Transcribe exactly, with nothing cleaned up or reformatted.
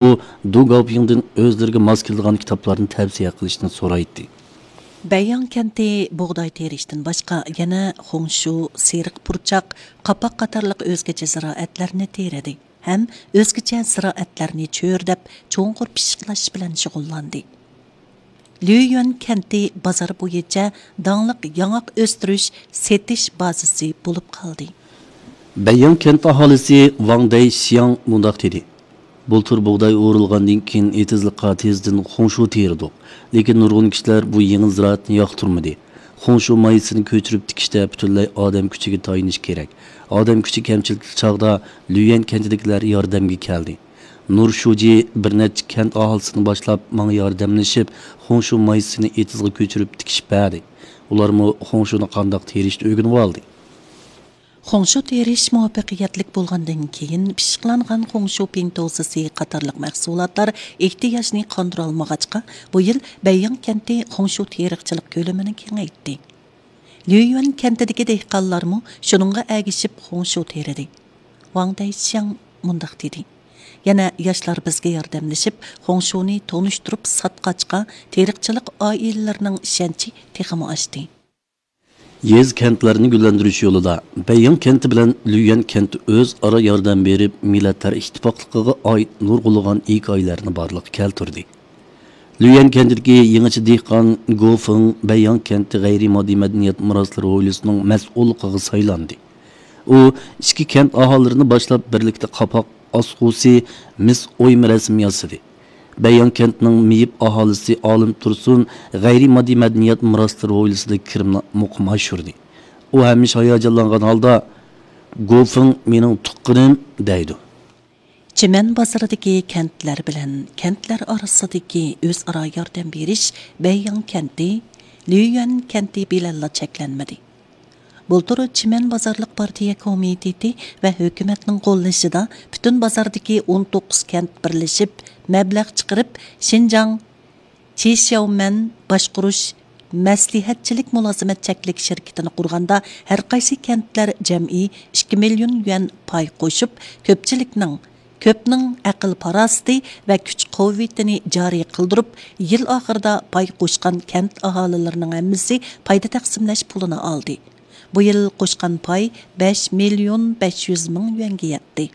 ئۇ دۇ گاۋپىڭدىن ئۆزلىرىگە ماس كېلىدىغان كىتابلارنى تەۋسىيە قىلىشنى سورايتتى. بەيياڭ كەنتى بۇغداي تېرىشتىن باشقا يەنە خۇڭشۇ، سېرىق پۇرچاق، قاپاق قاتارلىق ئۆزگىچە زىرائەتلەرنى تېرىدى ھەم ئۆزگىچە زىرائەتلەرنى چۆرىدەپ، چوڭقۇر پىششىقلاش بىلەن شۇغۇللاندى. ليۇيۈەن كەنتى بازار بويىچە داڭلىق ياڭاق ئۆستۈرۈش، سېتىش بازىسى بولۇپ قالدى. بەيياڭ كەنت ئاھالىسى ۋاڭ دەيشياڭ مۇنداق دېدى: بۇلتۇر بۇغداي ئورۇلغاندىن كېيىن، ئېتىزلىققا تېزدىن خۇڭشۇ تېرىدۇق. لېكىن نۇرغۇن كىشىلەر بۇ يېڭى زىرائەتنى ياقتۇرمىدى. خۇڭشۇ مايسىسىنى كۆچۈرۈپ تىكىشتە پۈتۈنلەي ئادەم كۈچىگە تايىنىش كېرەك. ئادەم كۈچى كەمچىلىكلىك چاغدا ليۇيۈەن كەنتىدىكىلەر ياردەمگە كەلدى. نۇر شۇجى بىر نەچچە كەنت ئاھالىسىنى باشلاپ، ماڭا ياردەملىشىپ، خۇڭشۇ مايسىسىنى ئېتىزغا كۆچۈرۈپ تىكىشىپ بەردى. ئۇلارمۇ خۇڭشۇنى قانداق تېرىشنى ئۆگىنىۋالدى. خۇڭشۇ تېرىش مۇۋەپپەقىيەتلىك بولغاندىن كېيىن، پىششىقلانغان خۇڭشۇ پىڭتوسىسى قاتارلىق مەھسۇلاتلار ئېھتىياجنى قاندۇرالمىغاچقا، بۇ يىل بەيياڭ كەنتى خۇڭشۇ تېرىقچىلىق كۆلىمىنى كېڭەيتتى. ليۇيۈەن كەنتىدىكى دېھقانلارمۇ شۇنىڭغا ئەگىشىپ خۇڭشۇ تېرىدى. ۋاڭ دەيشياڭ مۇنداق دېدى: يەنە ياشلار بىزگە ياردەملىشىپ، خۇڭشۇنى تونۇشتۇرۇپ ساتقاچقا، تېرىقچىلىق ئائىلىلىرىنىڭ ئىشەنچى تېخىمۇ ئاشتى. يېزا، كەنتلەرنى گۈللەندۈرۈش يولىدا بەيياڭ كەنتى بىلەن ليۇيۈەن كەنتى ئۆزئارا ياردەم بېرىپ، مىللەتلەر ئىتتىپاقلىقىغا ئائىت نۇرغۇنلىغان ھېكايىلەرنى بارلىققا كەلتۈردى. ليۇيۈەن كەنتىدىكى يېڭىچە دېھقان گو فېڭ بەيياڭ كەنتى غەيرىي ماددىي مەدەنىيەت مىراسلىرى ھويلىسىنىڭ مەسئۇللۇقىغا سايلاندى. ئۇ ئىچكى كەنت ئاھالىلىرىنى باشلاپ، بىرلىكتە قاپاق ئاسقۇسى، مىس ئويما رەسىم ياسىدى. بەيياڭ كەنتىنىڭ مېيىپ ئاھالىسى ئالىم تۇرسۇن غەيرىي ماددىي مەدەنىيەت مىراسلىرى ھويلىسىدا كىرىملىك مۇقىم ئاشۇردى. ئۇ ھەمىشە ھاياجانلانغان ھالدا: «گو فېڭ مېنىڭ تۇغقىنىم» دەيدۇ. چىمەن بازىرىدىكى كەنتلەر بىلەن كەنتلەر ئارىسىدىكى ئۆزئارا ياردەم بېرىش بەيياڭ كەنتى، ليۇيۈەن كەنتى بىلەنلا چەكلەنمىدى. بۇلتۇر چىمەن بازارلىق پارتىيە كومىتېتى ۋە ھۆكۈمەتنىڭ قوللىشىدا پۈتۈن بازاردىكى ئون توققۇز كەنت بىرلىشىپ، مەبلەغ چىقىرىپ، شىنجاڭ چىشياۋمەن باشقۇرۇش مەسلىھەتچىلىك مۇلازىمەت چەكلىك شىركىتىنى قۇرغاندا، ھەرقايسى كەنتلەر جەمئىي ئىككى مىليون يۈەن پاي قوشۇپ، كۆپچىلىكنىڭ، كۆپنىڭ ئەقىل-پاراسىتى ۋە كۈچ-قۇۋۋىتىنى جارى قىلدۇرۇپ، يىل ئاخىرىدا پاي قوشقان كەنت ئاھالىلىرىنىڭ ھەممىسى پايدا تەقسىملەش پۇلىنى ئالدى. بۇ يىل قوشقان پاي بەش مىليون بەش يۈز مىڭ يۈەنگە يەتتى.